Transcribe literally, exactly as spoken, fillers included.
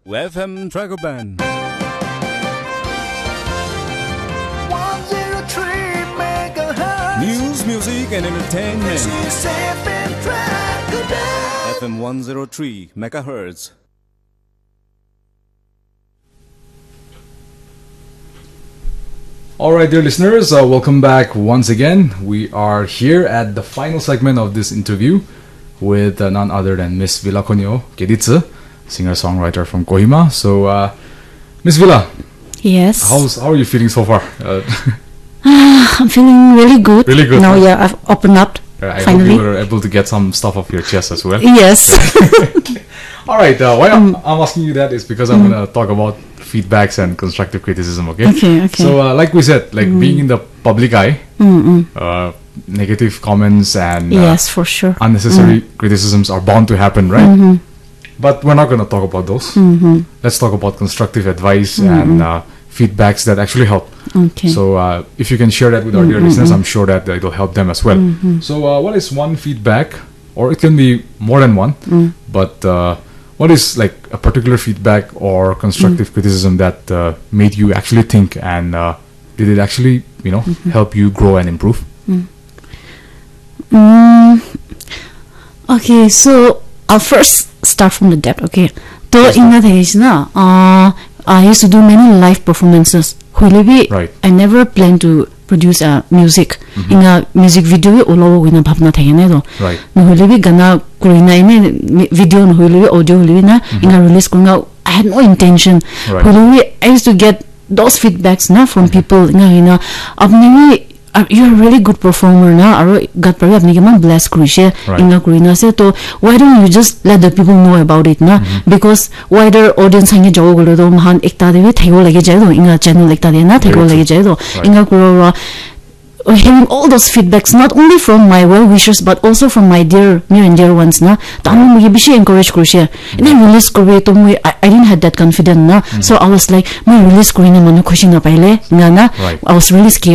F M Dragon Band. one zero three megahertz. News, music, and entertainment. This is F M Dragon Band. F M one zero three megahertz. All right, dear listeners, uh, welcome back once again. We are here at the final segment of this interview with uh, none other than Miss Vila Konyo Keditsu, singer-songwriter from Kohima. So, uh, Miss Vila, Yes. how's, how are you feeling so far? Uh, I'm feeling really good. Really good, Now, huh? yeah, I've opened up. I hope you finally were able to get some stuff off your chest as well. Yes. All right. Uh, why I'm, I'm asking you that is because I'm going to talk about feedbacks and constructive criticism. Okay. Okay, okay. So, uh, like we said, like being in the public eye, uh, negative comments and uh, Yes, for sure. unnecessary criticisms are bound to happen, right? But we're not going to talk about those. Let's talk about constructive advice and uh, feedbacks that actually help. Okay. So, uh, if you can share that with our dear listeners, I'm sure that it'll help them as well. So, uh, what is one feedback, or it can be more than one, but uh, what is like a particular feedback or constructive criticism that uh, made you actually think and uh, did it actually, you know, help you grow and improve? Mm, okay, so I'll first start from the depth, okay? To Yes, ma'am. Inga thakisna, uh, I used to do many live performances. Hoilebi, Right. I never plan to produce a music. Inga music video bi olabo koina bhabna thake nai to. Right. Nohoilebi gana kurina ine mi- video nohoilebi audio hoilebi na inga release kurina. I had no intention. Right. Hoilebi I used to get those feedbacks na from people. Inga ina apni bi uh, you're a really good performer na, aro God para bi apni kiman bless kurishe, Right. inga kurina ase. To why don't you just let the people know about it na? Because wider audience hange jawo gole to mahan ekta de bi thakibo lage jai to, inga channel ekta de na thakibo Very lage true. jai to. Right. Inga kura kura, uh, hearing all those feedbacks, not only from my well wishers but also from my dear, near and dear ones na. Tahan moike bishi encourage kurishe. Ene release koribi to moi, I, I didn't had that confidence na. So I was like, moi release kurina manu khushi napaile, inga na. Right. I was really scared.